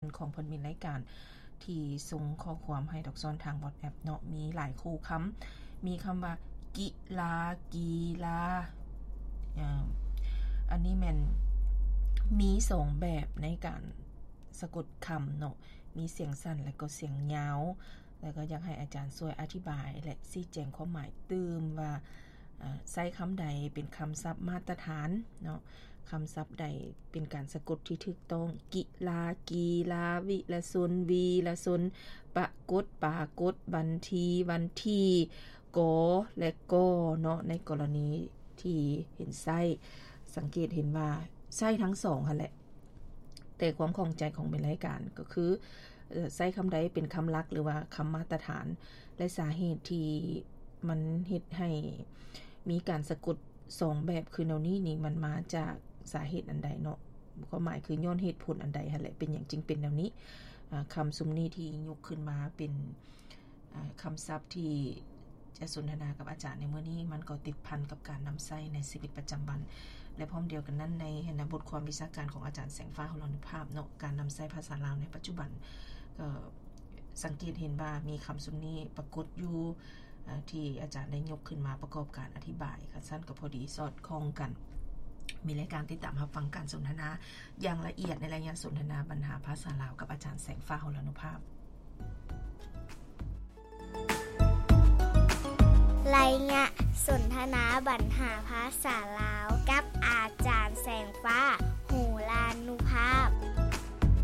ຂອງເພິ່ນມີລາຍການທີ່ສົ່ງຂໍ້ຄວາມໃຫ້ດອກຊອນທາງ WhatsApp ເນາະ ມີຫຼາຍຄູ່ຄຳ ມີຄຳວ່າ ກິລາ ກີລາ ເອີ ອັນນີ້ແມ່ນມີສອງແບບໃນການສະກົດຄຳເນາະ ມີສຽງສັ້ນ ແລະ ກໍສຽງຍາວ ແລະ ກໍຢາກໃຫ້ອາຈານຊ່ວຍອະທິບາຍ ແລະ ຊີ້ແຈງຄວາມໝາຍຕື່ມວ່າ ເອີ ໃຊ້ຄຳໃດເປັນຄຳສັບມາດຕະຖານເນາະ ຄຳສັບໃດເປັນການສະກົດທີ່ຖືກຕ້ອງ ກິລາ ກີລາ ວິລະຊົນ ວີລະຊົນ ປະກົດ ປາກົດ ບັນທີ ວັນທີ ກໍ ແລະ ກໍເນາະ ໃນກໍລະນີທີ່ເຫັນໃຊ້ ສັງເກດເຫັນວ່າໃຊ້ທັງສອງຫັ້ນແຫຼະ ແຕ່ຄວາມຂ້ອງໃຈຂອງແມ່ນລາຍການກໍຄື ເອີ ໃຊ້ຄຳໃດເປັນຄຳຫຼັກ ຫຼືວ່າຄຳມາດຕະຖານ ແລະ ສາເຫດທີ່ມັນເຮັດໃຫ້ມີການສະກົດສອງແບບຄືແນວນີ້ນີ້ ມັນມາຈາກສາເຫດອັນໃດເນາະ ຄວາມໝາຍຄືຍ້ອນເຫດຜົນອັນໃດຫັ້ນແຫຼະ ເປັນຫຍັງຈຶ່ງເປັນແນວນີ້ ອາ ຄຳຊຸມນີ້ທີ່ຍົກຂຶ້ນມາເປັນ ອາ ຄຳສັບທີ່ຈະສົນທະນາກັບອາຈານໃນມື້ນີ້ ມັນກໍຕິດພັນກັບການນຳໃຊ້ໃນຊີວິດປະຈຳວັນ ແລະ ພ້ອມດຽວກັນນັ້ນ ໃນ ໃນບົດຄວາມວິຊາການຂອງອາຈານແສງຟ້າ ຫົລານຸພາບເນາະ ການນຳໃຊ້ພາສາລາວໃນປັດຈຸບັນ ກໍສັງເກດເຫັນວ່າມີຄຳຊຸມນີ້ປາກົດຢູ່ ອາ ທີ່ອາຈານໄດ້ຍົກຂຶ້ນມາປະກອບການອະທິບາຍ ຄັນຊັ້ນກໍພໍດີສອດຄ່ອງກັນ ມີລາຍການຕິດຕາມຮັບຟັງການສົນທະນາຢ່າງລະອຽດໃນໄລຍະສົນທະນາບັນຫາພາສາລາວກັບອາຈານແສງຟ້າ ຫົລານຸພາບ. ໄລຍະສົນທະນາບັນຫາພາສາລາວກັບອາຈານແສງຟ້າ ຫົລານຸພາບ.